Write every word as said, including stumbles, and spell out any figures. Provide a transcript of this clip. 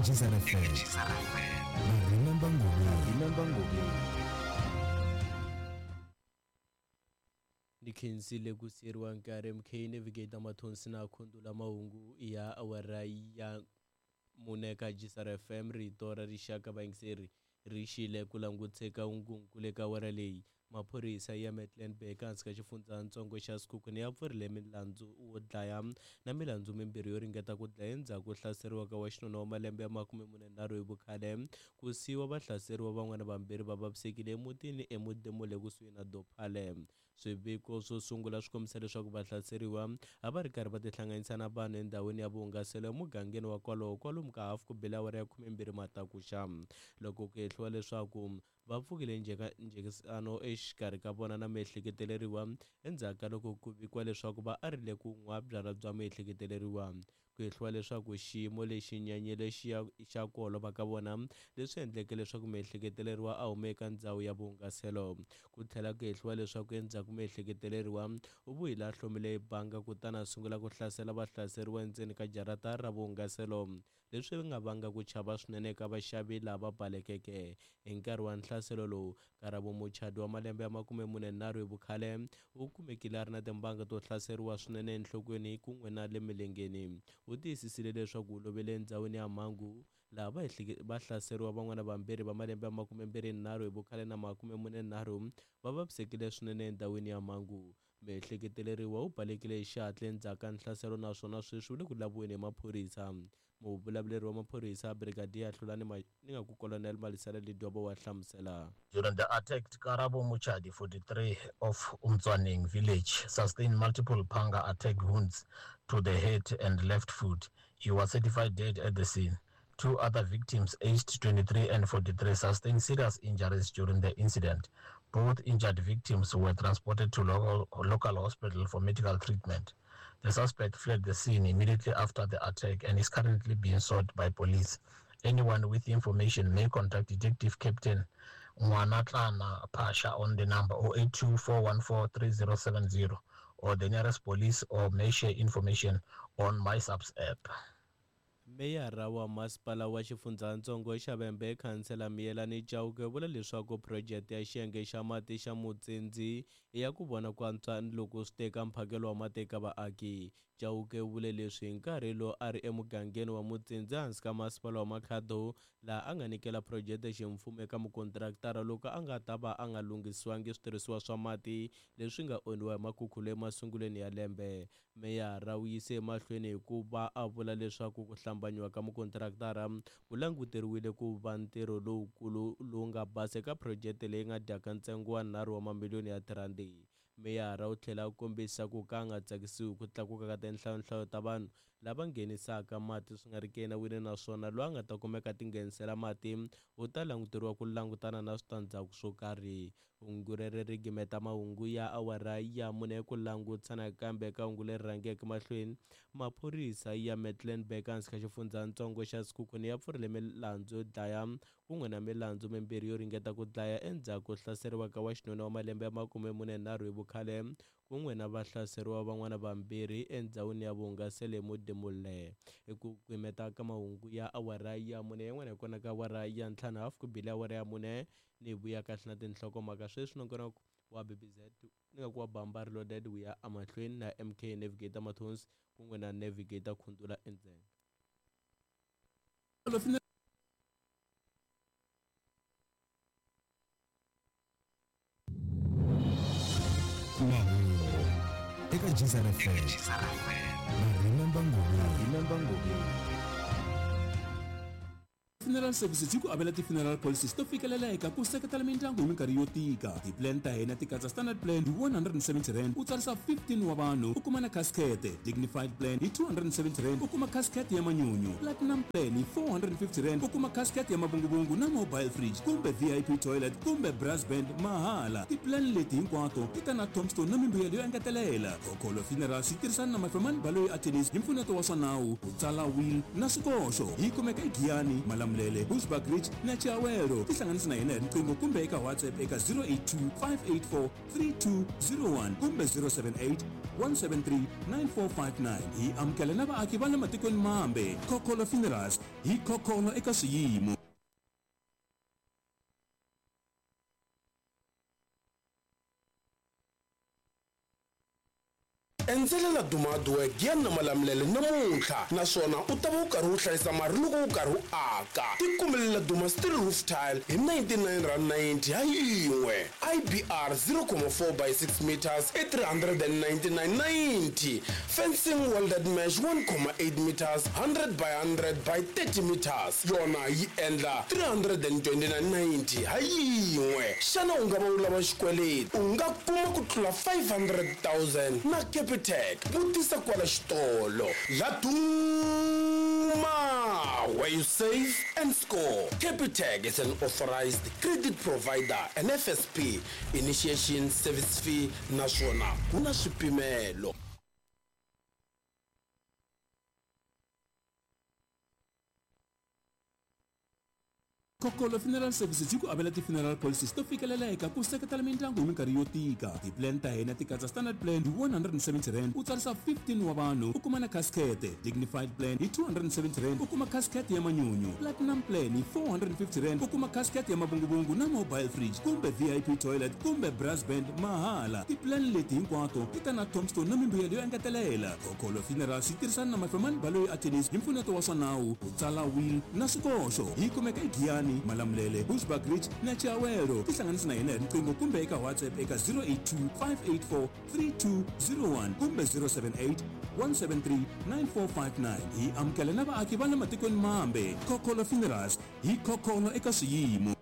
G S R F M na Remember Ngobeni. Remember Ngobeni. Ni khensile ku siyeriwa nkarhi M K Navigator Mathonsi na Khundula. Mahungu ya awara ya mune ka G S R F M, rito ra rixaka. Vayingiseri, ri xile ku languteka hungunkulu eka awara leyi. Maphorisa ya Mecklenburg ehansi ka xifundzatsongo xa Sekhukhune ya pfurile milandzu wo dlaya na milandzu mimbirhi yo ringeta ku dlaya endzhaku ko hlaseriwa ka wa xinuna wa malembe ya makume mune nharhu hi vukhale, ku siyiwa vahlaseriwa van'wana vambirhi va vavisekile emutini eModimole kusuhi na Dophale. Swiviko swo sungula swi kombisa leswaku vahlaseriwa a va ri karhi va tihlanganisa na vanhu endhawini ya vuhungaselo emugangeni wa kwalowo kwalomu ka hafu ku bile awara ya khumembirhi matakuxa, loko ku hehliwa leswaku va pfukile njhekisano exikarhi ka vona na miehleketeleriwa endzhaku ka loko ku vikiwa leswaku va arile ku nwa byalwa bya miehleketeleriwa. Ku hehliwa leswaku xiyimo lexi nyanyile xa ku holova ka vona, leswi endleke leswaku miehleketeleriwa a huma eka ndzhawu ya vuhungaselo. Ku tlhela ku hehliwa leswaku endzhaku miehleketeleriwa u vuyile a hlomile banga kutani a sungula ku hlasela vahlaseriwa endzeni ka jarata ra vuhungaselo, leswi nga vanga ku chava swinene eka vaxavi lava balekeke. Hi nkarhi wa nhlaselo lowu, Karabo Muchadi wa malembe ya makume mune nharhu hi vukhale u kumekile a ri na timbanga to hlaseriwa swinene enhlokweni kun'we na le milengeni. U tiyisisile leswaku u lovele endhawini ya mhangu, laha vahlaseriwa van'wana vambirhi va malembe ya makumembirhi nharhu hi vukhale na makume mune nharhu va vavisekile swinene endhawini ya mhangu. Miehleketeleriwa u balekile hi xihatla endzhaku ka nhlaselo naswona sweswi u le ku laviweni hi maphorisa. Muvulavuleri wa maphorisa, Brigadier Hlulani, ni nga ku Colonel Malisela Ledwaba, wa hlamusela. During the attack, Karabo Muchadi, forty-three, of Umtswaneng village, sustained multiple panga attack wounds to the head and left foot. He was certified dead at the scene. Two other victims, aged twenty-three and forty-three, sustained serious injuries during the incident. Both injured victims were transported to local, local hospital for medical treatment. The suspect fled the scene immediately after the attack and is currently being sought by police. Anyone with information may contact Detective Captain Mwanatlana Pasha on the number oh eight two four one four three oh seven oh or the nearest police, or may share information on MySAPS app. Meyara wa masipala wa xifundzatsongo xa Vhembe, Khansela Miyelani Chauke, vula leswaku phurojeke ya xiyenge xa mati xa Mutsendzi i ya ku vona ku antswa loko swi teka mphakelo wa mati eka vaaki. Chauke u vule leswi hi nkarhi lowu a ri emugangeni wa Mutsendzi ehansi ka masipala wa Makhado, laha a nga nyikela phurojeke ximfumo eka mukontraktara loko a nga ta va a nga lunghisiwangi switirhisiwa swa mati leswi nga onhiwa hi makhukhulo emasungulweni ya lembe. Meyara u yise emahlweni hi ku va a vula leswaku ku hlambanyiwa ka mukontraktara ku languteriwile ku va ntirho lowukulu lowu nga basa eka phurojeke leyi nga dyaka ntsengo wa nharhu wa mamiliyoni ya tirhandi. Meyara u tlhela a kombisa ku ka a nga tsakisiwi ku tlakuka ka tinhlayonhlayo ta vanhu lava nghenisaka mati swi nga ri ki enawini, naswona loyi a nga ta kumeka ti nghenisela mati u ta languteriwa ku langutana na switandzhaku swo karhi. Hungu rero ri gimeta mahungu ya awara ya mune. Ku langutisa nakambe eka hungu leri rhangeke mahlweni, maphorisa ya Mecklenburg ehansi ka xifundzatsongo xa Sekhukhune ya pfurile milandzu yo dlaya kun'we na milandzu mimbirhi yo ringeta ku dlaya endzhaku ko hlaseriwa ka wa xinuna wa malembe ya makume mune nharhu hi vukhale kun'we na vahlaseriwa van'wana vambirhi endhawini ya vuhungaselo eModimolle. Hi ku gimeta ka mahungu ya awara ya mune, yin'wana hi kona ka awara ya ntlhanu hafu ku bile awara ya mune. Ni vuya kahle na tinhlokomhaka sweswi. Nongonoko wa B B Z, ni nga ku wa Bamba Reloaded, wu ya emahlweni na M K Navigator Mathonsi kun'we na Navigator Khundula endzeni. Mahungu eka G S R F M na Remember Ngobeni. Remember Ngobeni. Funeral Services yi ku avela ti-funeral policies to fikeleleka ku seketela mindyangu hi minkarhi yo tika. Ti-plan ta hina ti katsa standard plan hi one hundred and seventy rand, u tsarisa fifteen wa vanhu, u kuma na casket; dignified plan hi two hundred and seventy rand, u kuma casket ya manyunyu; platinum plan hi four hundred and fifty rand, u kuma casket ya mavunguvungu na mobile fridge kumbe V I P toilet kumbe brass band mahala. Ti-plan leti hinkwato ti ta na tombstone na mimbuyelo yo engetelela. Khokholo Funerals yi tirhisana na Mafemani Baloyi Attorneys hi mpfuneto wa swa nawu ku tsala will na swikoxo. Yi kumeka eGiyani Malamulele. Malamulele, Bushbuckridge na Chiawelo. Tihlanganisi na hina hi riqingho kumbe eka WhatsApp eka zero eight two, five eight four, three two zero one kumbe zero seven eight, one seven three, nine four five nine. Hi amukela na vaaki va le matikweni mambe. Khokholo Funerals, hi khokholo eka swiyimo. Endzela Laduma Hardwork ya na Malamulele namuntlha, naswona u ta va u karhi u hlayisa mali loko u karhi u aka. Tikumele Laduma Steel Roof Tile hi ninety-nine rand ninety ha yin'we. I B R zero comma four by six meters i three hundred and ninety-nine ninety. Fencing welded mesh one comma eight meters, hundred by hundred by thirty meters. Yona yi endla three hundred and twenty-nine ninety ha yin'we. Xana u nga va u lava xikweleti? U nga kuma ku tlula five hundred thousand na Capitec. Vutisa kwala xitolo. Laduma, where you save and score. Capitec is an authorized credit provider and F S P. Initiation service fee naswona ku na swipimelo. Khokholo Funeral Services yi ku avela ti-funeral policies to fikeleleka ku seketela mindyangu hi minkarhi yo tika. Ti-plan ta hina ti katsa standard plan hi one hundred and seventy rand, u tsarisa fifteen wa vanhu, u kuma na casket. Dignified plan hi two hundred and seventy rand, u kuma casket ya manyunyu. Platinum plan hi four hundred and fifty rand, u kuma casket ya mavunguvungu na mobile fridge kumbe V I P toilet kumbe brass band mahala. Ti-plan leti hinkwato ti ta na tombstone na mimbuyelo yo engetelela. Khokholo Funerals yi tirhisana na Mafemani Baloyi Attorneys hi mpfuneto wa swa nawu, ku tsala will na swikoxo. Yi kumeka eGiyani, Malamulele, Bushbuckridge na Chiawelo. Tihlanganisi na hina hi riqingho kumbe eka WhatsApp eka zero eight two, five eight four, three two zero one kumbe zero seven eight, one seven three, nine four five nine. Hi amukela na vaaki va le matikweni mambe. Khokholo Funerals, hi khokholo eka swiyimo.